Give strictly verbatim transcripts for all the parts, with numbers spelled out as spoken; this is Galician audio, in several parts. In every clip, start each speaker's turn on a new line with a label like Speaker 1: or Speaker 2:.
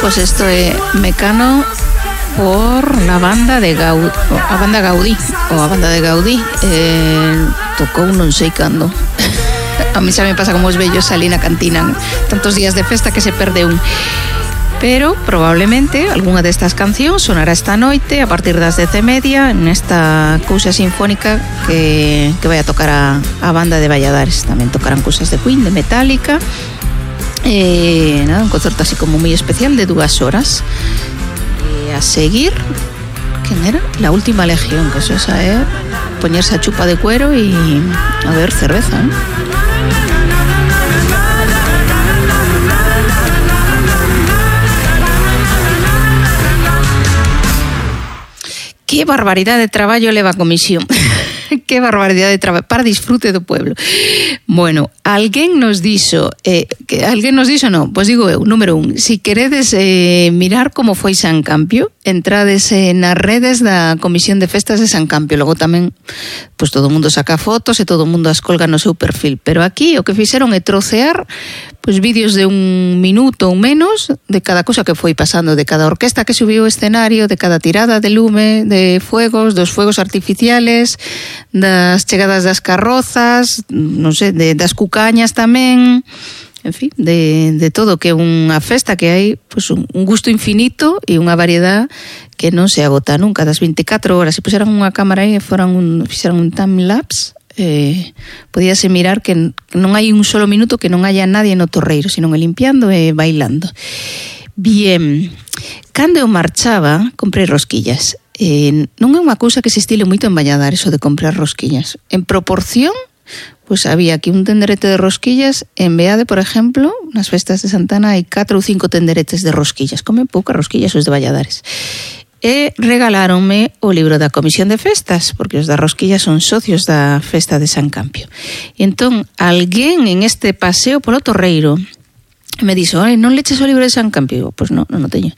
Speaker 1: pues esto é Mecano por la banda de Gaudí, a banda Gaudí, ou a banda de Gaudí, eh, tocou non sei cando. A mí xa me pasa como os vellos ali na cantina, tantos días de festa que se perde un. Pero probablemente algunha destas cancións sonará esta noite a partir das dez e media nesta cousa sinfónica que, que vai a tocar a, a banda de Valladares. Tamén tocarán cousas de Queen, de Metallica, e nada, un concerto así como moi especial de dúas horas. E a seguir, quen era? La Última Legión, que eso esa é poñerse a chupa de cuero e a ver cerveza, ¿eh? Que barbaridade de traballo leva a comisión. Que barbaridade de traballo para disfrute do pueblo. Bueno, alguén nos dixo, eh, que alguén nos dixo, non, pois digo eu, número un, si queredes eh, mirar como foi San Campio, entrades eh, nas redes da Comisión de Festas de San Campio. Logo tamén, pois todo o mundo saca fotos e todo o mundo as colga no seu perfil. Pero aquí o que fixeron é trocear pois vídeos de un minuto ou menos de cada cosa que foi pasando, de cada orquesta que subiu ao escenario, de cada tirada de lume, de fuegos, dos fuegos artificiales, das chegadas das carrozas, non sei, de, das cucañas tamén, en fin, de, de todo, que é unha festa que hai pois, un, un gusto infinito e unha variedade que non se agota nunca, das veinticuatro horas. Se puseran unha cámara aí e foran un, fixeran un time-lapse, eh, podíase mirar que non hai un solo minuto que non haya nadie no torreiro, senón limpiando e bailando. Bien, cando eu marchaba, comprei rosquillas. Eh, non é unha cousa que se estile moito en Valladares, o de comprar rosquillas. En proporción, pois había aquí un tenderete de rosquillas, en Beade, por exemplo, nas festas de Santana hai catro ou cinco tenderetes de rosquillas. Comen poucas rosquillas os de Valladares. E regaláronme o libro da Comisión de Festas, porque os da rosquillas son socios da festa de San Campio. E entón, alguén en este paseo polo torreiro me dixo, "Ai, non leches o libro de San Campio?" Pois non, non o teño.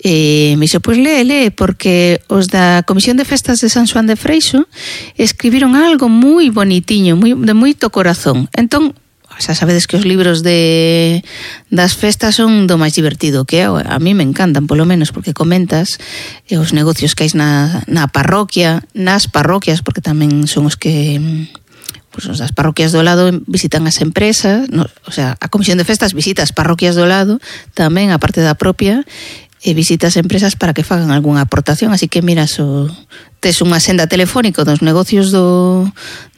Speaker 1: E me dixo, pois lee, lee, porque os da Comisión de Festas de San Xoán de Freixo escribiron algo moi bonitiño, moi, de moito corazón. Entón, xa sabedes que os libros de das festas son do máis divertido que é, a mí me encantan, polo menos, porque comentas eh, os negocios que hai na, na parroquia, nas parroquias, porque tamén son os que pues, os das parroquias do lado visitan as empresas, no, o sea, a Comisión de Festas visita as parroquias do lado, tamén a parte da propia, e visitas empresas para que fagan algunha aportación, así que miras o tes unha senda telefónica dos negocios do,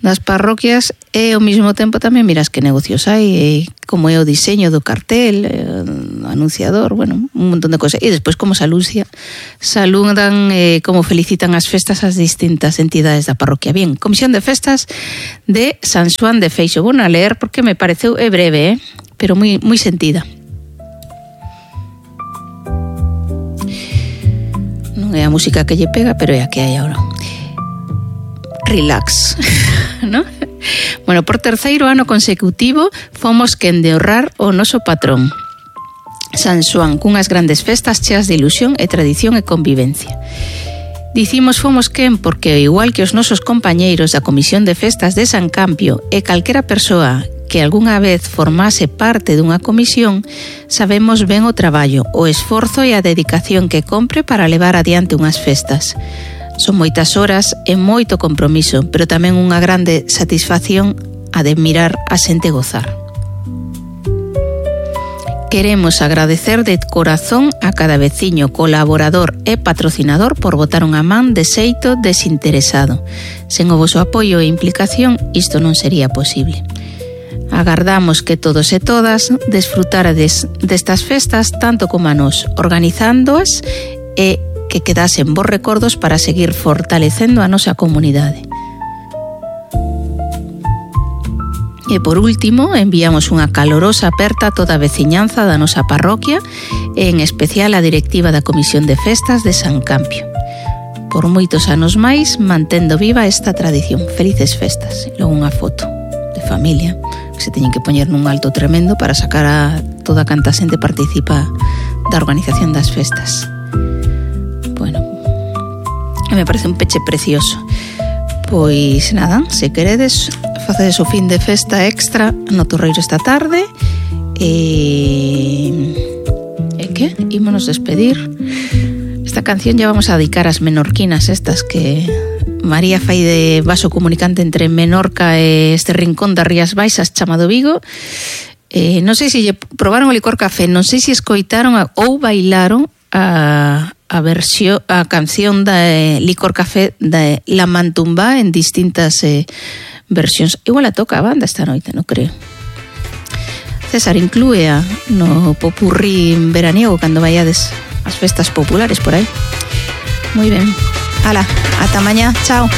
Speaker 1: das parroquias e ao mesmo tempo tamén miras que negocios hai e como é o diseño do cartel, o anunciador, bueno, un montón de cosas. E despois como se anuncia, saludan eh, como felicitan as festas as distintas entidades da parroquia. Bien, Comisión de Festas de San Xoán de Freixo. Vou a leer porque me pareceu é breve, eh, pero moi moi sentida. Non é a música que lle pega, pero é a que hai agora. Relax, ¿no? Bueno, por terceiro ano consecutivo fomos quen de honrar o noso patrón, San Xoán, cunhas grandes festas cheas de ilusión e tradición e convivencia. Dicimos fomos quen porque, igual que os nosos compañeiros da Comisión de Festas de San Campio e calquera persoa que algunha vez formase parte dunha comisión, sabemos ben o traballo, o esforzo e a dedicación que compre para levar adiante unhas festas. Son moitas horas e moito compromiso, pero tamén unha grande satisfacción a de mirar a xente gozar. Queremos agradecer de corazón a cada veciño, colaborador e patrocinador por botar unha man de xeito desinteresado. Sen o voso apoio e implicación, isto non sería posible. Agardamos que todos e todas desfrutarades destas festas tanto como a nós, organizándoas e que quedasen bons recordos para seguir fortalecendo a nosa comunidade. E por último, enviamos unha calorosa aperta a toda a veciñanza da nosa parroquia e en especial a directiva da Comisión de Festas de San Campio. Por moitos anos máis, mantendo viva esta tradición. Felices festas. E logo unha foto de familia que se teñen que poñer nun alto tremendo para sacar a toda canta xente participa da organización das festas. Bueno, me parece un peche precioso. Pois nada, se queredes, facedes o fin de festa extra no Torreiro esta tarde e, e eh, ¿qué? Ímonos despedir. Esta canción ya vamos a dedicar ás menorquinas estas que María fai de vaso comunicante entre Menorca e este rincón das Rías Baixas chamado Vigo. Eh, non sei se probaron o licor café, non sei se escoitaron a, ou bailaron a, a versión, a canción da eh, licor café da La Mantumbá en distintas eh, versións. Igual a toca a banda esta noite, non creo. César, inclúea no popurrí veraniego cando vayades as festas populares por aí. Moi ben. Ala, ata mañá. Chao.